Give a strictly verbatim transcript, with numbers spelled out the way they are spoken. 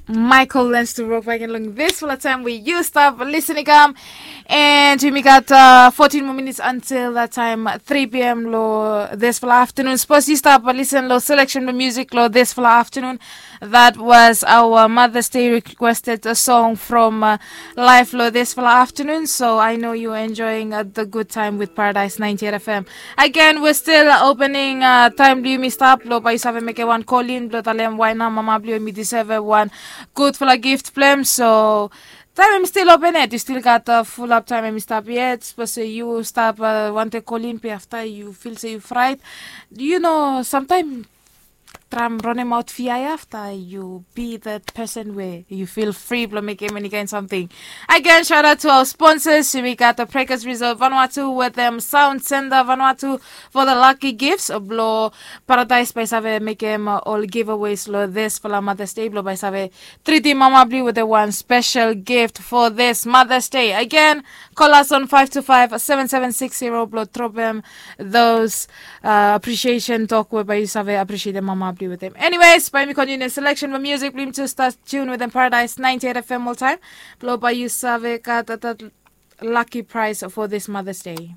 Michael Lens to rock back and long this for the time we used up listening um and we got uh, fourteen more minutes until that time three p.m. lo this for afternoon. Suppose you stop listen lo selection of music lo this for afternoon. That was our Mother's Day requested a song from uh, live lo this for afternoon. So I know you're enjoying uh, the good time with Paradise ninety-eight F M. Again, we're still opening uh, time blue mi stop lo by seven make one call in blo talem why na mama blue mi deserve one good for a gift blem. So time em still open it. You still got a full up time em stop yet. But say you stop uh, want to call in pe after you feel say you fright. You know, sometimes tram ronem out fia after you be that person where you feel free blo make any kind something. Again, shout out to our sponsors. We got the Breakers Resort Vanuatu with them Sound Center Vanuatu for the lucky gifts blo Paradise by save make them uh, all giveaways lo this for la Mother's Day blo by save treat the mama blue with the one special gift for this Mother's Day. Again, call us on five two five seven seven six zero blo drop them those uh, appreciation talk whereby you save appreciate the mama blue with them. Anyways, by me continue selection of music, blim to start tune with them Paradise ninety-eight F M all time. Blo by you save got that, that lucky prize for this Mother's Day.